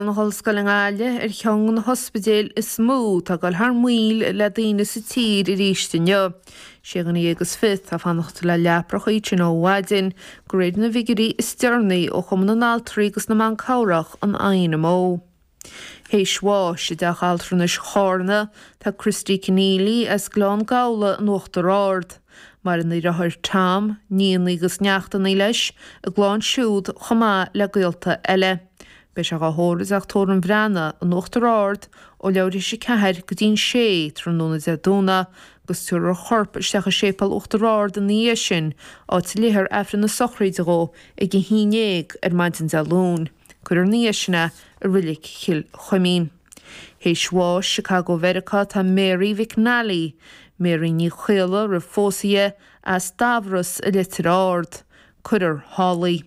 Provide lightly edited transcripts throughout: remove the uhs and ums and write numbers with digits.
Na hOllscoile i nGaillimh ar cheann de na hospidéil is mó atá ag dul thar maoil le daoine sa tír arís inniu. Sé dhuine dhéag is fiche atá ag fanacht le leapracha iad sin ó mhaidin, de réir na bhfigiúirí is deireanaí ó Chumann na nAltraí agus na mBan Cabhrach, an INMO. Théis bháis i dTeach Altranais Chárna tá Christy Conneely as Gleann Gabhla in Uachtar Ard. Maireann a dheartháir Tom, nianna agus neachtanna leis, a gclann siúd chomh maith le gaolta eile. Beidh sé dhá thórramh i dTeach Tórraimh an Bhreathnaigh in Uachtar Ard ó leathuair théis 4 go dtí'n 6 tráthnóna Dé Domhnaigh agus tabharfar a chorp isteach i Séipéal Uachtar Ard ina dhiaidh sin, áit a léifear Aifreann na sochraide dhó ag a 11 ar maidin Dé Luain. Cuirfear ina dhiaidh sin é i Reilig Chill Chuimín. Théis bháis, Chicago Mheiriceá tá Mary McNally, Mary Ní Chaola roimh phósadh di, as Dubhros i Leitir Ard. Cuirfear thall í.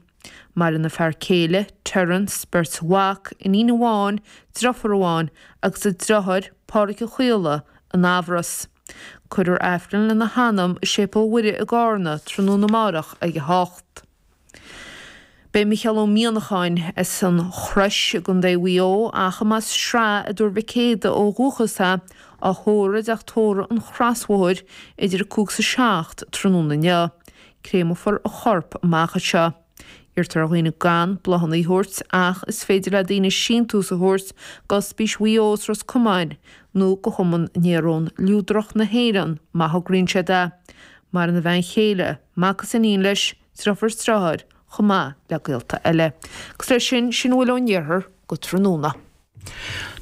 Maireann a fear céile, Terence, beirt mhac, iníon amháin, deirfiúr amháin agus a deartháir, Pádraic Ó Caola, in Eamhras. Cuirfear Aifreann lena hanam i Séipéal Mhuire i gCárna tráthnóna amárach ag 8. Beidh Micheál Ó Mianacháin as an Chrois i gContae Mhaigh Eo ach a mb'as Sraith i dTuar Mhic Éadaigh ó dhúchas é, á thórramh i dTeach Tórraimh an Chrosbhóthair idir 5 is 7 tráthnóna inniu. Créamfar a chorp amach anseo. Iarrtar ar dhaoine gan bláthanna a thabhairt ach is féidir le daoine síntiús a thabhairt d'Ospís Mhaigh Eo is Ros Comáin nó go Chumann Néarón Liúdrach na hÉireann má thograíonn siad é. Maireann a bhean chéile, mac is iníon leis, deirfiúr is deartháir, chomh maith le gaolta eile. Agus leis sin, sin a bhfuil ón iarthar go tráthnóna.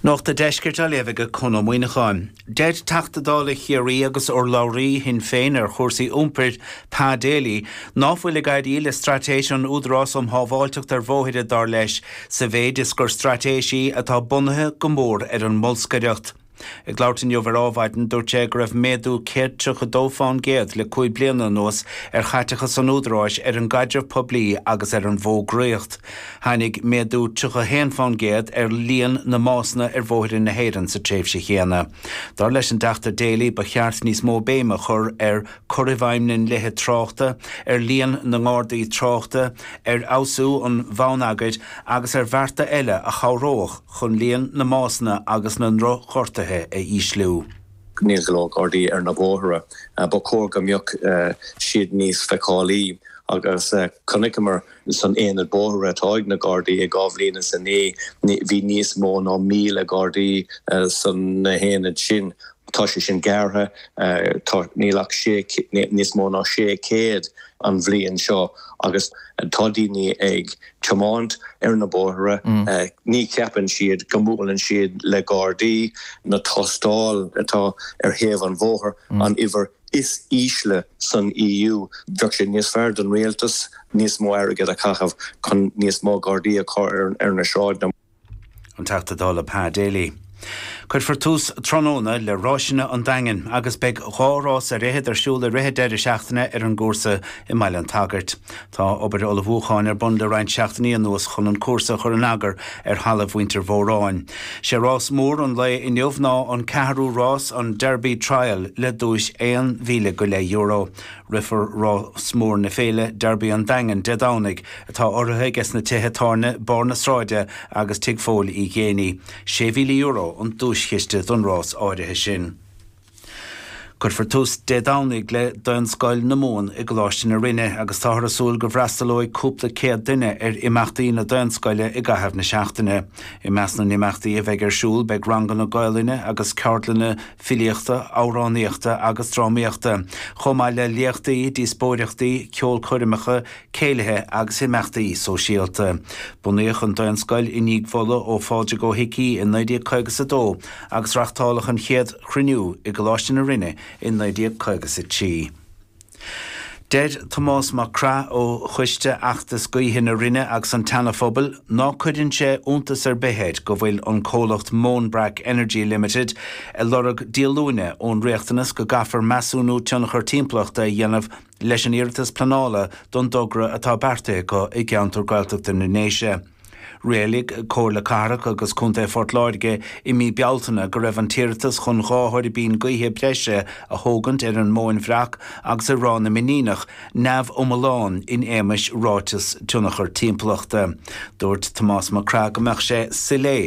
Nuacht an Deiscirt á léamh ag Conn Ó Muíneacháin. Deir Teachta Dála Chiarraí agus urlabhraí Shinn Féin ar chúrsaí iompair, Pa Daly, ná fuil ag éirí le straitéis an Údarás um Shábháilteacht ar Bhóithre, dar leis, sa mhéid is gur straitéis í atá bunaithe go mór ar an mbolscaireacht. Ag labhairt inniu ar Ádhmhaidin, dúirt sé go raibh méadú 132 fán gcéad le 5 bliana anuas ar chaiteachas an Údaráis ar an gcaidreamh poiblí agus ar an bhfógraíocht. Tháinig méadú 31 fán gcéad ar líon na mbásanna ar bhóithre na hÉireann sa tréimhse chéanna. Dar leis an dTeachta Daly, ba cheart níos mó béime a chur ar cur i bhfeidhm na ndlíthe tráchta, ar líon na ngardaí tráchta, ar fheabhsú an bhonneagair agus ar bhearta eile a chabhródh chun líon na mbásanna agus na ndrochghortuithe a ísliú. Níl go leor Gardaí ar na bóithre. Ba chóir go mbeadh siad níos feiceálaí agus chonaiceamar san aonad bóithre atá ag na Gardaí i 2009 bhí níos mó ná 1,000 Gardaí san na haonaid sin. Tá sé sin gearrtha, tá, níl ach sé, níos mó ná 600 an bhliain seo agus tá daoine ag tiomáint ar na bóithre, ní cheapann siad go mbuaileann siad le Gardaí, na tástáil atá ar thaobh an bhóthair, an uimhir is ísle san EU. Bheadh sé níos fearr don rialtas níos mó airgead a chaitheamh chun níos mó Gardaí a chur ar na sráideanna. An Teachta Dála Pa Daly. Cuirfear tús tráthnóna le Ráiseanna an Daingin agus beidh 2 rás ar fhichead ar siúl i rith an deireadh seachtaine ar an gcúrsa i mBaile an tSagairt. Tá obair ullmhúcháin ar bun le roinnt seachtainí anuas chun an cúrsa a chur in eagar ar thalamh mhuintir Mhóráin. Sé rás mór an lae inniu ná an ceathrú rás, an Derby Trial, le duais €1,000 go leith. Rithfear rás mór na féile, Derby an Daingin, Dé Domhnaigh, atá urraithe aige sna tithe tábhairne Barr na Sráide agus Tigh Phóil Uí Ghéibheannaigh. €6,000 an duaischiste don rás áirithe sin. Cuirfear tús Dé Domhnaigh le Daonscoil na Mumhan i gColáiste na Rinne agus táthar ag súil go bhfreastalóidh cúpla céad duine ar imeachtaí na Daonscoile i gcaitheamh na seachtaine. I measc na n-imeachtaí a bheidh ar siúl beidh ranganna Gaolainne agus ceardlanna filíochta, amhránaíochta agus drámaíochta, chomh maith le léachtaí, díospóireachtaí, ceolchoirmeacha, céilithe agus imeachtaí sóisialta. Bunaíodh an Daonscoil i ndiaidh mholadh ó Phádraig Ó hIcí i 1952 agus reachtáladh an chéad chruinniú i gColáiste na Rinne i 1953. Deir Tomás Mac Craith ó Choiste Fheachtas Gaoithe na Rinne agus an tSeana Phobail ná cuireann sé iontas ar bith air go bhfuil an comhlacht Moanbrack Energy Limited ag lorg díolúine ón riachtanas go gcaithfear measúnú tionchar timpeallachta a dhéanamh leis an iarratas pleanála don dtogra atá beartaithe acu i gceantar Gaeltachta na nDéise. Rialaigh Comhairle Cathrach agus Contae Phort Láirge i mí Bealtaine go raibh an t-iarratas chun 2 thuirbín gaoithe breise a thógaint ar an Móin Bhreac agus i Ráth na Mainíneach neamhiomlán in éamais Ráiteas Tionchar Timpeallachta. Dúirt Tomás Mac Craith go mbeadh sé soiléir.